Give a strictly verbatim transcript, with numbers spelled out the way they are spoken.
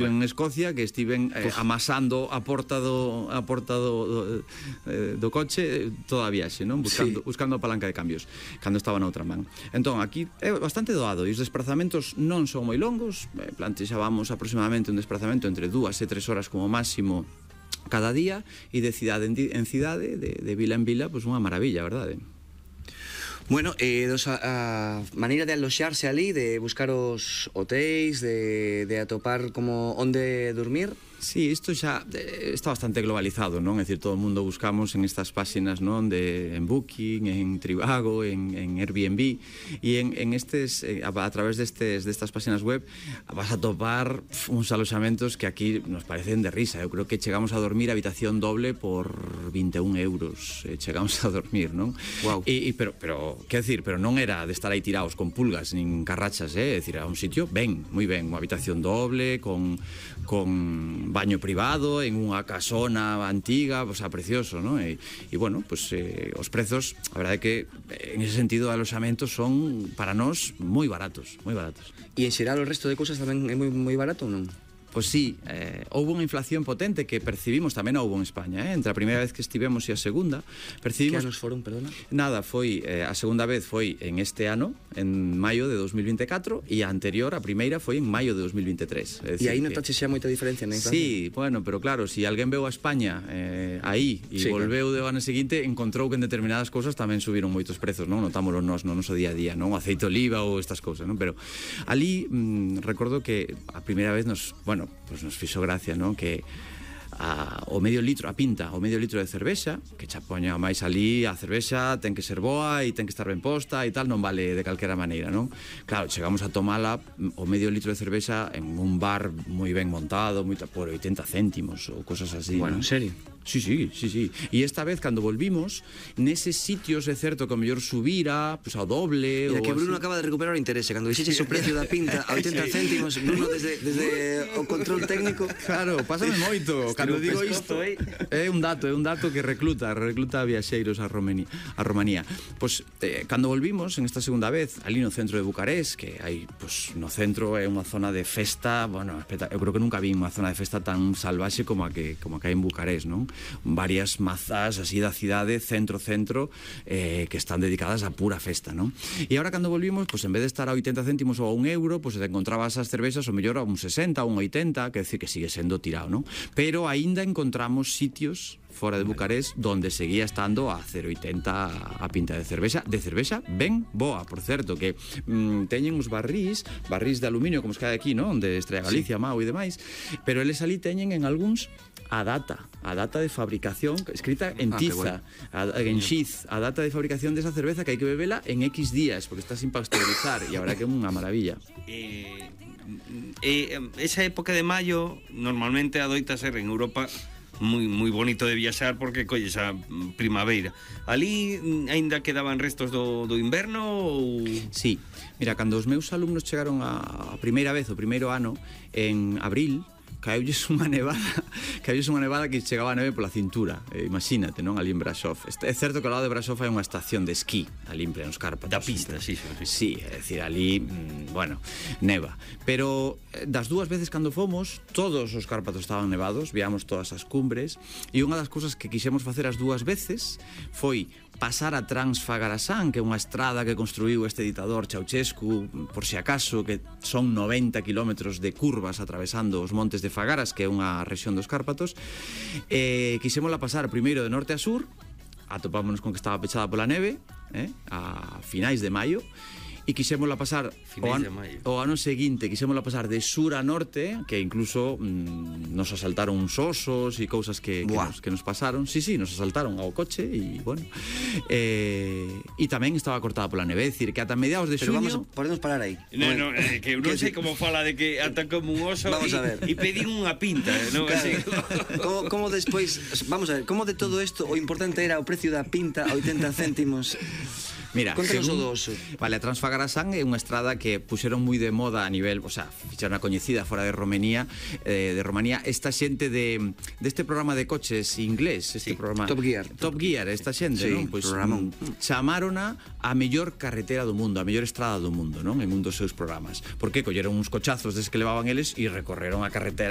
En Escocia, que estiven eh, amasando a porta do a porta do, do, eh, do coche toda a viaxe, non? Buscando, sí. buscando a palanca de cambios cando estaba na outra man. Entón, aquí é bastante doado e os desplazamentos non son moi longos, eh, plantexábamos aproximadamente un desplazamento entre dúas e tres horas como máximo cada día, e de cidade en, en cidade, de, de vila en vila, pois pues unha maravilla, verdade? Bueno, eh, dos, a, a maneira de aloxarse ali, de buscar os hotéis, de, de atopar como onde dormir. Sí, isto xa eh, está bastante globalizado, non? É dicir, todo o mundo buscamos en estas páxinas, non? De, en Booking, en Trivago, en, en Airbnb, e en, en estes, eh, a, a través destes, destas páxinas web vas a topar pf, uns aloxamentos que aquí nos parecen de risa. Eu creo que chegamos a dormir habitación doble por vinte e un euros, eh, chegamos a dormir, non? Wow. E, e, pero, pero, quer dicir, pero non era de estar aí tirados con pulgas nin carrachas, eh? É dicir, a un sitio ben, moi ben, unha habitación doble, con, con baño privado, en unha casona antiga, o sea, precioso, ¿no? E, e bueno, pues eh, os prezos, a verdade é que en ese sentido de aloxamentos son para nós moi baratos, moi baratos. E en xeral o resto de cousas tamén é moi, moi barato ou non? Pois sí, eh, houve unha inflación potente que percibimos, tamén houve en España, eh? Entre a primeira vez que estivemos e a segunda percibimos... Que anos foron, perdona? Nada, foi, eh, a segunda vez foi en este ano, en maio de dos mil vinte e catro, e a anterior, a primeira, foi en maio de dos mil vinte e tres. E aí notaxe xa moita diferencia na inflación? Sí, bueno, pero claro, se si alguén veu a España eh, aí e sí, volveu claro. De ano seguinte, encontrou que en determinadas cousas tamén subiron moitos prezos, non? Notámoslo nos no noso día a día, non? O aceite de oliva ou estas cousas, non? Pero ali, mm, recordo que a primeira vez nos, bueno, pues nos fixo gracia, non? Que a, o medio litro, a pinta, o medio litro de cervexa, que xa poña máis ali, a cervexa ten que ser boa e ten que estar ben posta e tal, non vale de calquera maneira, non? Claro, chegamos a tomala o medio litro de cervexa en un bar moi ben montado, moi, por oitenta céntimos ou cosas así. Bueno, ¿no? En serio? Sí, sí, sí, sí. E esta vez, cando volvimos, neses sitios é certo que o mellor subira, pues, ao doble. Mira, ou que Bruno así. Acaba de recuperar o interese. Cando dixeches o precio da pinta a oitenta sí. céntimos, Bruno, desde, desde o control técnico... Claro, pásame moito. Cando digo isto, é un dato, é un dato que recluta, recluta viaxeiros a Romanía. A Romanía. Pois, eh, cando volvimos, en esta segunda vez, ali no centro de Bucarest, que hai, pues, no centro é unha zona de festa, bueno, eu creo que nunca vi unha zona de festa tan salvaxe como a que, como a que hai en Bucarest, non? Varias mazas así da cidade, centro-centro, eh, que están dedicadas a pura festa, non? E agora cando volvimos, pues, en vez de estar a oitenta céntimos ou a un euro, pues, te encontrabas as cervexas o mellor a un sesenta, a un oitenta, que decir que sigue sendo tirado, non? Pero aínda encontramos sitios fora de Bucarest donde seguía estando a cero oitenta a pinta de cervexa, de cervexa ben boa, por certo, que mm, teñen os barrís, barrís de aluminio como os que hai aquí, non? De Estrella Galicia, sí. Mau e demais, pero eles ali teñen en algúns a data, a data de fabricación escrita en ah, tiza, a, en xiz, a data de fabricación desa cerveza que hai que bebela en X días, porque está sin pasteurizar, e a verdad que é unha maravilla. Eh, eh, esa época de maio normalmente adoita ser en Europa moi moi bonito de viaxar porque colles a primavera. Ali aínda quedaban restos do, do inverno ou... Sí, mira, cando os meus alumnos chegaron a, a primeira vez, o primeiro ano, en abril, caeulles unha nevada, caeulles unha nevada que chegaba a neve pola cintura, eh, imagínate, non? Ali en Brasov. É certo que ao lado de Brasov hai unha estación de esquí, ali en plenos Cárpatos. Da pista, sí, sí. Sí, é dicir, ali, mmm, bueno, neva. Pero das dúas veces cando fomos, todos os Cárpatos estaban nevados, viamos todas as cumbres, e unha das cousas que quixemos facer as dúas veces foi pasar a Transfagarasan, que é unha estrada que construiu este ditador Ceausescu, por si acaso, que son noventa kilómetros de curvas atravesando os montes de Fagaras, que é unha rexión dos Cárpatos. Eh, quixémola pasar primeiro de norte a sur, atopámonos con que estaba pechada pola neve, eh, a finais de maio, e quixémola pasar o ano, o ano seguinte, quixémola pasar de sur a norte, que incluso mmm, nos asaltaron uns osos e cousas que, que, nos, que nos pasaron. Sí, sí, nos asaltaron ao coche e, bueno, eh, e tamén estaba cortada pola neve, é dicir, que ata mediados de Pero xuño... vamos a, podemos parar aí. No, no, eh, que non sei como fala de que ata como un oso e pedín unha pinta, non? Claro. Así. como, como despois, vamos a ver, como de todo isto o importante era o precio da pinta a oitenta céntimos... Mira, contanos o según- do oso. Vale, a Transfagarasan é unha estrada que puxeron moi de moda a nivel, o sea, fixeron a coñecida fora de Romanía, eh, de Romanía, esta xente de deste programa de coches inglés, este Sí, programa Top Gear. Top Gear, esta xente, Sí, non? Pois programón. mm, chamárona a mellor carretera do mundo, a mellor estrada do mundo, non? En un dos seus programas. Porque colleron uns cochazos des que levaban eles e recorreron a carretera